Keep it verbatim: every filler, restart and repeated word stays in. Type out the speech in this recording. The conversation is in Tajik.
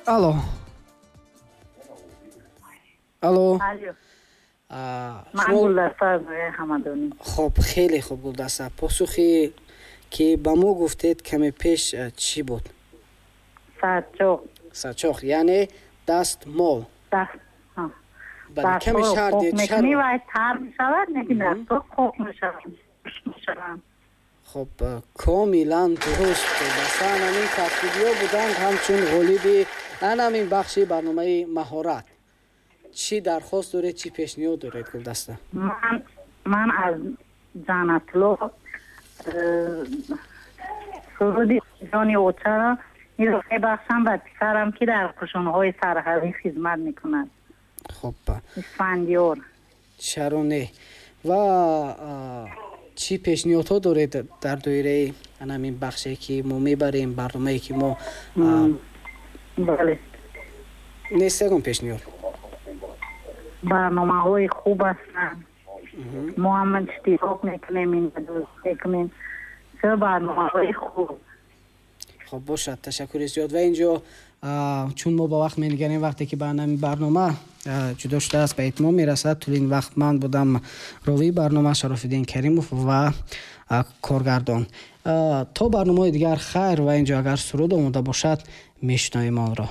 Алло, алло. Ман Гулдаста аз ноҳияи Ҳамадонӣ. Хуб, хеле хуб, Гулдаста, посухе ки ба мо гуфтед каме пеш чӣ буд? Сачоқ. Сачоқ, яъне дастмол. Бале, каме шарҳ диҳед. Мекунӣ, вай тар мешавад, лекин дастҳо қоқ мешаванд. Хуб, комилан дуруст. Гулдаста, ҳамин кафкӯбиҳо буданд ҳамчун ғолиби ҳамин бахши барномаи маҳорат. Чӣ дархост доред, чӣ пешниҳод доред, Гулдаста? Ман ман аз Ҷаннатло суруди ҷони очаро инро мебахшам ба писарам, ки дар қушунҳои сарҳадӣ хизмат мекунад. Хуб. Исфандиёр. Чаро не? Ва чӣ пешниҳодҳо доред дар доираи ҳамин бахше, ки мо мебарем, барномае, ки мо Бале. Нест ягон пешниҳод? Барномаҳои хуб ҳастанд, мо ҳам иштирок мекунем, дӯст мекунем, чӣ барномаҳои хуб. Хуб бошад, ташаккури зиёд. Ва инҷо, чун мо ба вақт менигарем, вақте ки ба ҳамин барнома ҷудо шудааст, ба итмом мерасад. Тӯли ин вақт ман будам ровии барнома Шарофиддин Каримов ва коргардон. То барномаҳои дигар хайр. Ва инҷо агар суруд омода бошад, мешунавем онро.